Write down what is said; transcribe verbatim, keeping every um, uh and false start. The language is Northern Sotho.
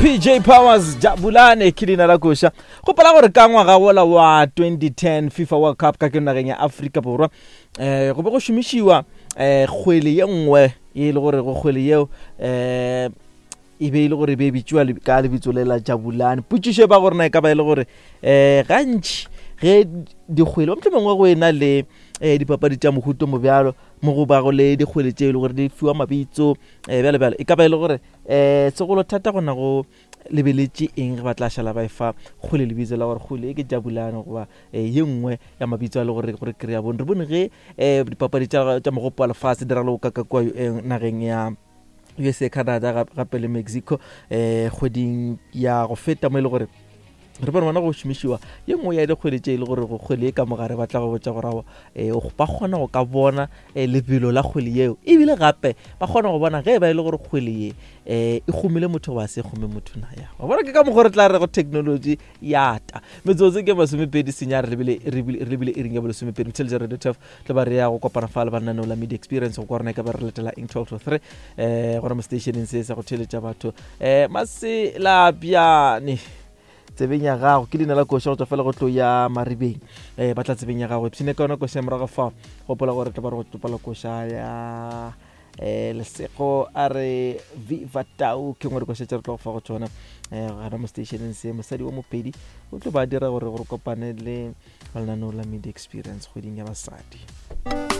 P J Powers, Jabulane ke leina la koša. Gopola gore ka ngwaga wola wa twenty ten FIFA World Cup ka ke nageng ya Afrika Borwa, um go be go šomišiwa um kgwele ye nngwe e le gore go kgwele yeo um e be e le gore e be e bitšiwa ka lebitso le la Jabulane. Potšišo e ba gore na e ka ba e le gore um gantši ge dikgwele motlho mongwe go e na le um dipapadi tša mohuto mo bjalo mo go bago le dikgwele tše e le gore di fiwa mabitso um bjalo bjalo, e ka ba e le gore um segolo thata gona go lebeletše eng ge ba tla šala ba e fa kgwele lebitso la gore kgwele e ke Jabulane goba um ye nngwe ya mabitso a le gore gore kry-a bone. Re bone ge um dipapadi tša mogopo wa lefase di raloka ka kua nageng ya U S A, Canada gape le Mexico um kgweding ya go feta, mo e le gore re bone bona go šomišiwa ye nngwe ya dikgwele tše e le gore go kgwele e ka mogare ba tla go botša gore um ba kgona go ka bona um lebelo la kgwele yeo, ebile gape ba kgona go bona ge e ba e le gore kgwele ye um e kgomile motho goba se kgome motho na. Ya wa bona, ke ka mokgwa re tla re go technology yata. Metsotso ke masomepedi senya re lebile iring ya bolesomepedi. Intelligent Radio twelve tlo ba re ya go kopana fa le bananeo la Media Experience go kwa rona e ka ba re latela eng twelve to three um gona mo stationeng se sa go theletša batho um maselabjane tsebeng ya gago. Ke leina la koša go tswa fela go tlo ya Maribeng, um ba tla tsebeng ya gago ipshine ka yona koša ya morago fa. Gopola gore tla ba re go tsopala koša ya um Lesego a re Viva Tau, ke ngwe dikoša tse re tlo go fa go tsona um gana mo stationeng se. Mosadi wa Mopedi o tlo ba dira gore gore kopane le lenaneo la Media Experience kgweding ya basadi.